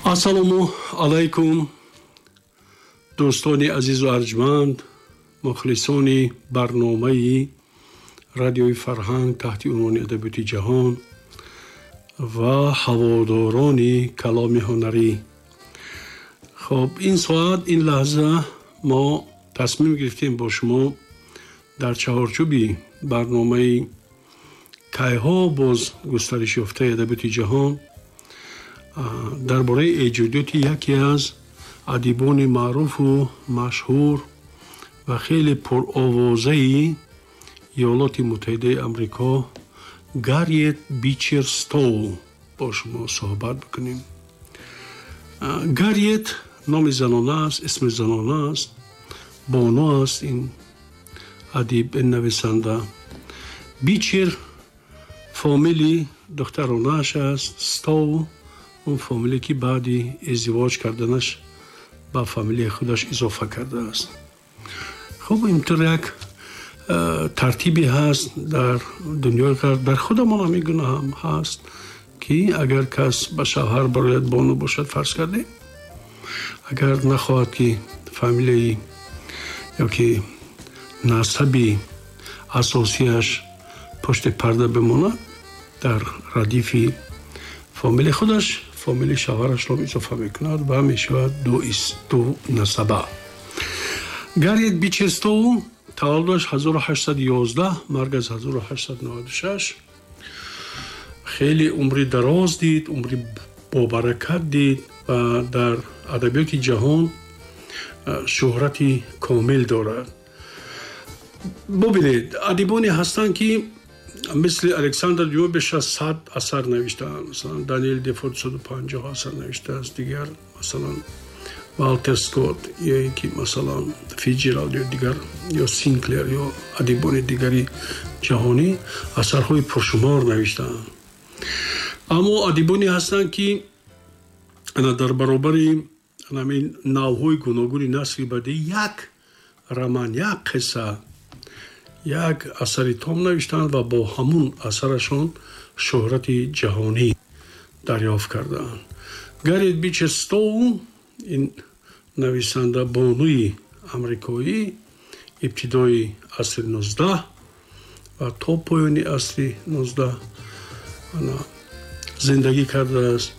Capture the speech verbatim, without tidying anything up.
Ассалому алайкум, дӯстони азизу арҷманд, мухлисони барномаи радиои Фарҳанг таҳти унвони Адабиёти ҷаҳон ва ҳаводорони каломи ҳунарӣ. Хоб, ин соат, ин лаҳза мо тасмим гирифтем бо шумо дар чаҳорчӯби барномаи кайҳо боз густариш ёфтаи Адабиёти ҷаҳон дар бораи эҷодиёти яке аз адибони маъруфу машҳур ва хеле пуровозаи Иёлоти Муттаҳидаи Амрико, Гарриет Бичер Стоу, бо шумо суҳбат бикунем. Гарриет номи занона аст, исми занона аст, бону аст ин адиб, ин нависанда. Бичер фомили духтаронааш аст, Стоу он фамилие ки баъди издивоҷ карданаш ба фамилияи худаш изофа кардааст. Хуб, интур як э, тартибе ҳаст дар дунёи ғарб, дар худамон ҳамин гуна ҳам ҳаст, ки агар кас ба шавҳар барояд, бону бошад, фарз кардем, агар нахоҳад, ки фамилияи ё ки насаби асосияш пушти парда бимонад, дар радифи фамилияи худаш фамилияи шавҳарашро изофа мекунад ва мешавад ду насаба. Гарриет Бичер Стоу таваллудаш ҳазору ҳаштсаду ёздаҳ, маргаш ҳазору ҳаштсаду наваду шаш. Хеле умри дароз дид, умри бобаракат дид ва дар адабиёти ҷаҳон шӯҳрати комил дорад. Бубинед, адибоне ҳастанд, ки мисли Александр Дюма беш аз сад асар навиштаанд, масалан, Даниэл Дефо дусаду панҷоҳ асар навиштааст, дигар, масалан, Валтер Скотт ё ин ки, масалан, Фитсҷералд ё дигар, ё Синклер, ё адибони дигари ҷаҳонӣ асарҳои пуршумор навиштаанд. Аммо адибоне ҳастанд, ки дар баробари ҳамин навъҳои гуногуни насри бадеӣ як роман, як қисса, як асари том навиштанд ва бо ҳамун асарашон шӯҳрати ҷаҳонӣ дарёфт кардаанд. Гарриет Бичер Стоу, ин нависанда бонуи амрикоӣ, ибтидои асри нуздаҳ ва то поёни асри нуздаҳ зиндагӣ кардааст.